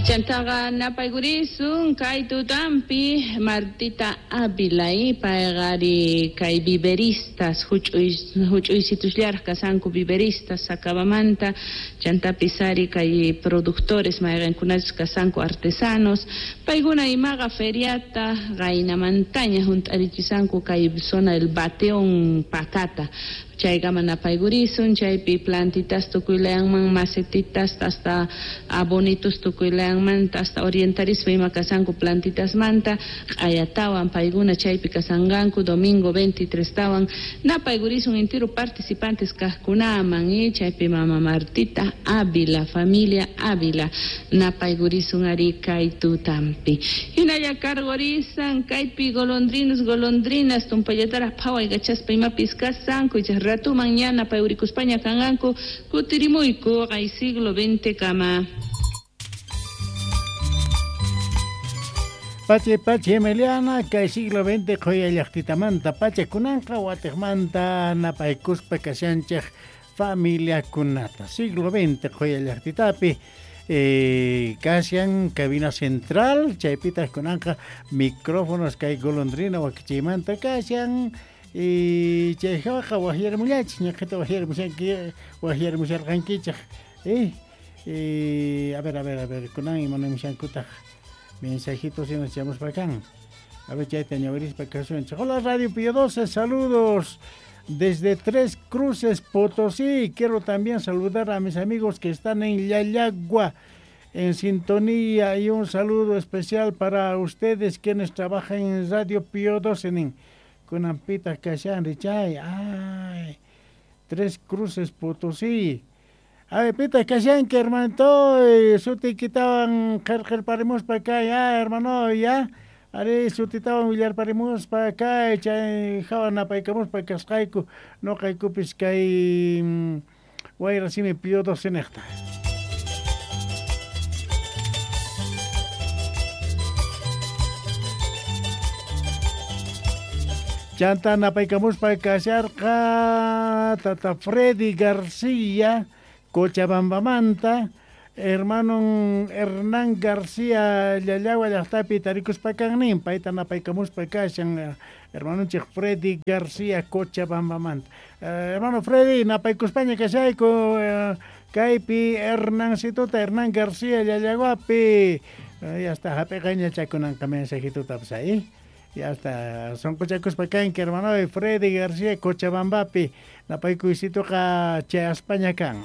Chantaqa napaykurisun kay tutampi Martita Ávila, payqa ari kay viveristas huch'uysitusllaraq kasanku viveristas Sacabamanta, chantapis ari kay productores mayqinkunachus kasanku artesanos, paykuna imaqa feriata qaynamantaña hunt'arichisanku kay zona del Bateón Pacata. Chaykama napaykurisun, chaypi plantitas tukuylayanman, macetitas hasta abonitos tukuylayanmanta, hasta orientarispa ima kasanku plantitasmanta, q'ayatawan paykuna chaypi kasanqanku domingo 23 tawan napaykurisun entero participantes kaqkunaman, chaypi mama Martita Ávila, familia Ávila, napaykurisun ari kay tutampi. Hinalla kargorisan kaypi golondrinos, golondrinas, tumpallataraq phawaykachaspa imapis kasanku, icha ratuman ña napayurikuspaña kanqanku kutirimuyku kay siglo XX kama. Pache pache Emiliana, kay siglo XX qhuya llaqtitamanta pacha kunanqa watiqmanta napaykuspa kashanchej familiakunata. Siglo XX qhuya llaqtitapi kashan cabina central, chaypitaq kunanqa micrófonos kay golondrina wakichiymanta kashan. Y chayqa wajyarmullachik, ñaqhita wajyarmusharqankichik. A ver, a ver, a ver, kunan imanamushankutaq mensajitos y nos echamos pa acá. A ver, chayta ñawirispa kasunchik. Hola Radio Pío 12, saludos desde Tres Cruces, Potosí. Quiero también saludar a mis amigos que están en Llallagua, en sintonía, y un saludo especial para ustedes quienes trabajan en Radio Pío 12, en Kunampita kashan richay. Ay, Tres Cruces, Potosí. Ay, pita kashanki, hermanito, sutikitawan qharqharparimuspa kay, ah, hermano, ya. Ari sutitawan willarparimuspa kay, chay hawa napaykamuspa kasqayku, noqaykupis kay wayra simi Pío 12 niqta. Chanta napaykamuspa kasharqa tata Freddy García, Cochabambamanta, hermano Hernán García Llallagua llaqtapi tarikuspa kannin, payta napaykamuspa kashan, hermanonchik Freddy García Cochabambamanta. Hermano Freddy, napaykuspaña kashayku, kaypi Hernancitota, Hernán García Llallaguapi. Ya está, hap'iqaña chakunanqa mensajitutapas ahí. Ya está, sonqochakuspa kanki, hermano Freddy García Cochabambapi, napaykuysituqa chayaspaña kan.